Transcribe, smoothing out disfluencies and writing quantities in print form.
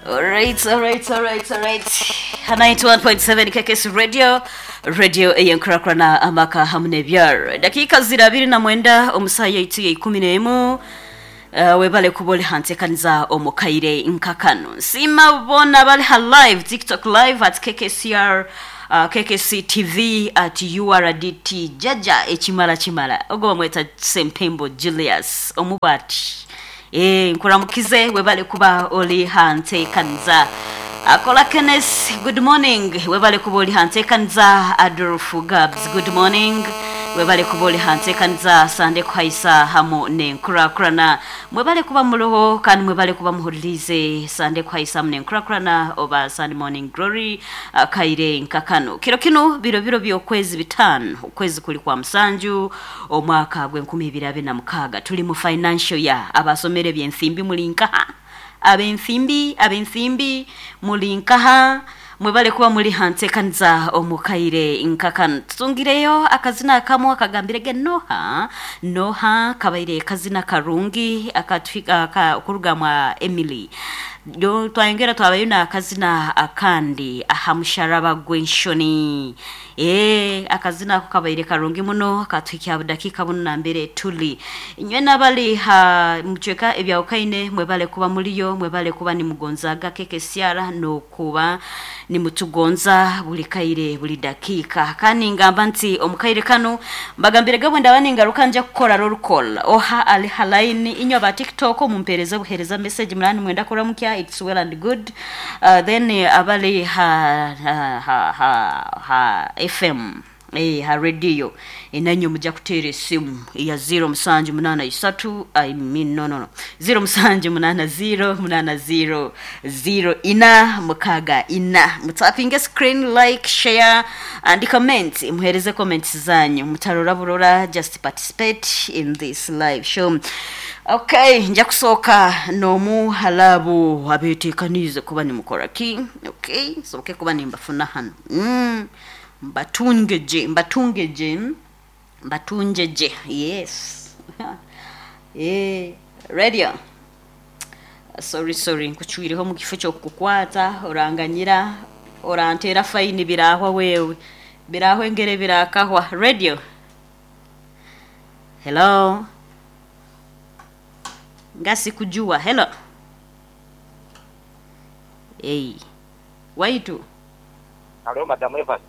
Alright, alright, alright, alright. 91.7 KKS Radio, radio eyenkurakurana amaka hamu n'ebyaro. Dakika zira abiri na mwenda omusaha yaitu ya ikumi n'emu. Webale kuba oli hantekaniza omukaire nkakano. Nsiima boona abali ha live, TikTok live at KKCR, KKC TV at URDT Jaja ekimala kimala. Ogwo bamweta Sempembo Julius omubwati. Nkuramukize webale kuba oli hantekaniza. Akola Kenneth, good morning. Webale kuba oli hantekaniza. Adolf Gabs, good morning. Webale kuba oli hantekaniza Sande kuhaisa hamu nenkurakurana. Mwebale kuba muroho kandi mwebale kuba muhuririze Sande kuhaisa hamu nenkurakurana oba Sunday morning glory kaire nkakano. Kiro kino biro biro by'okwezi bitano, okwezi kuli kwa musanju omwaka gw'enkumi ibiri abiri na mukaaga. Tuli mu financial year. Abasomere ebyensimbi muli nkaha? Abensimbi, abensimbi muli nkaha? Mwebale kuba muli hantekaniza omukaire nkakano. Tutungireyo akazina akamu akagambirege Noha. Noha kabaire kazina karungi akatwika okuruga mwa Emily. Yo twayongera twabayo n'akazina akandi aha musharaba gw'enshoni. Akazina ako kabaire karungi muno katuhikya budakika buno nambere tuli. Inywe n'abali ha mucweka ebyawukaine mwebale kuba muliyo, mwebale kuba nimugonzaga KKCR n'okuba nimutugonza buli kaire buli dakika. Kandi ngamba nti omukaire kano mbagambire gabwe ndaba ningaruka nja kukora roll call. Oha ali ha line inywe aba TikTok mumpereze buhereza message munani mwenda kuramukya, it's well and good. Then abali ha FM, ha radio enanyo mujja kuteera esimu ya 0 musanju munana isatu, I mean, no, no, no. 0 musanju munana 0 munana 0 0 ina mukaga ina. Mutapinge screen, like, share and comment. Muhereze comments zanyu, mutarora burora, just participate in this live show. Okay, nja kusooka n'omu halabu abeteekaniize kuba nimukora ki. Okay, soboke kuba nimbafuna hano. Mbatungeje, mbatungeje, mbatunjeje. Yes. Radio. Sorry, sorry, nkuchwireho mu kifo ky'okukukwata, oranganyira, orantera faini birahwa wewe. Birahwa engere birakahwa. Radio. Hello. Ngasi kujua. Hello. Hey. Waitu. Hello, Madam Evans.